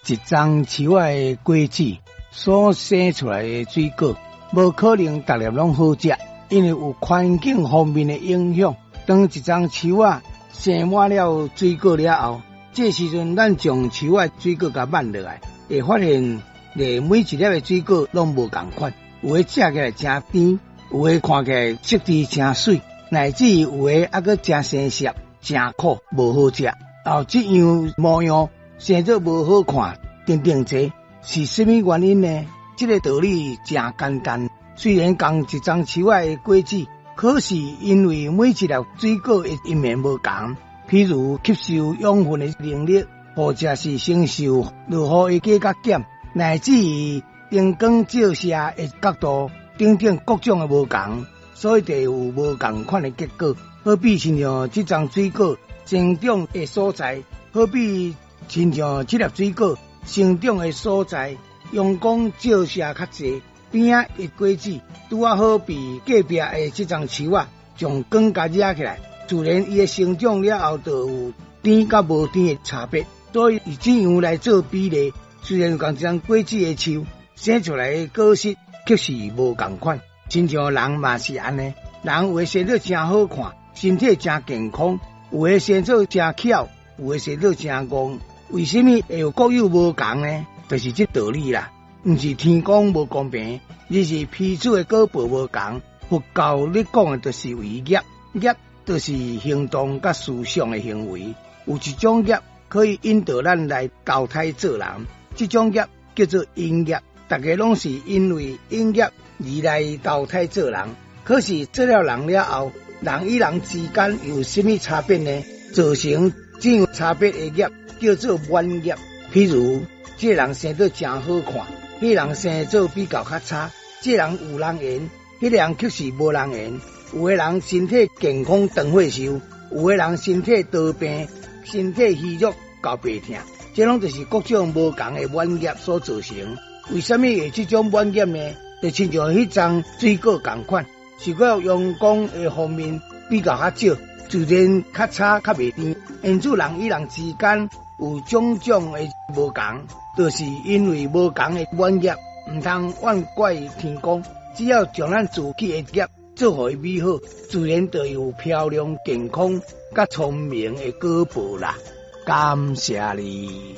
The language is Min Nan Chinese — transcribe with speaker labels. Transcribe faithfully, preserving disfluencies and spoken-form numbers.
Speaker 1: 一欉樹仔的果子所生出來的水果，無可能逐粒攏好食，因為有環境方面的影響。當一欉樹仔生滿了水果了後，這時陣咱將樹仔水果共挽落來，會發現咧每一粒的水果攏無仝款，有的食起來誠甜，有的看起來色澤誠媠，乃至有的猶閣誠生澀、誠苦，無好食。哦，這樣模樣生做無好看，等等這是啥物原因呢？這個道理誠簡單。雖然仝一欉樹仔的果子，可是因為每一粒水果的因緣無仝，譬如吸收養分的能力，或者是承受落雨的加佮減，乃至於燈光照射的角度等等各種的無仝，所以就有無仝款的結果。好比親像這欉水果生長的所在，好比親像這粒水果生長的所在，陽光照射較濟，邊仔的果子拄仔好比隔壁的這欉樹仔，將光共惹起來，自然伊的成長了後就有甜佮無甜的差別。所以以這樣來做比例，雖然仝一欉果子的樹生出來的果實卻是無仝款，親像人嘛是按呢，人有的生做誠好看，身體誠健康；有的生做誠巧，有的生做誠戇。為什麼會有各有無仝呢？就是這道理啦。毋是天公無公平，而是彼此的果報無仝。佛教咧講的就是為業，業就是行動佮思想的行為。有一種業可以引導咱來投胎做人，這種業叫做引業。逐家攏是因為引業而來投胎做人。可是做了人了後，人與人之間有啥物差別呢？造成這樣差別的業叫做滿業。譬如，這個人生做誠好看，彼個人生做比較較差。這個人有人緣，彼個人卻是無人緣。有的人身體健康長歲壽，有的人身體多病，身體虛弱到病疼。這攏就是各種無仝的滿業所造成。為什麼會這種滿業呢？就親像彼欉水果仝款，是講陽光的方面比較較少，自然較差較袂甜。因此人與人之間有種種的無仝，就是因為無仝的滿業，毋通怨怪天公。只要將咱自己的業做予伊美好，自然就有漂亮、健康、佮聰明的果報啦。感謝你。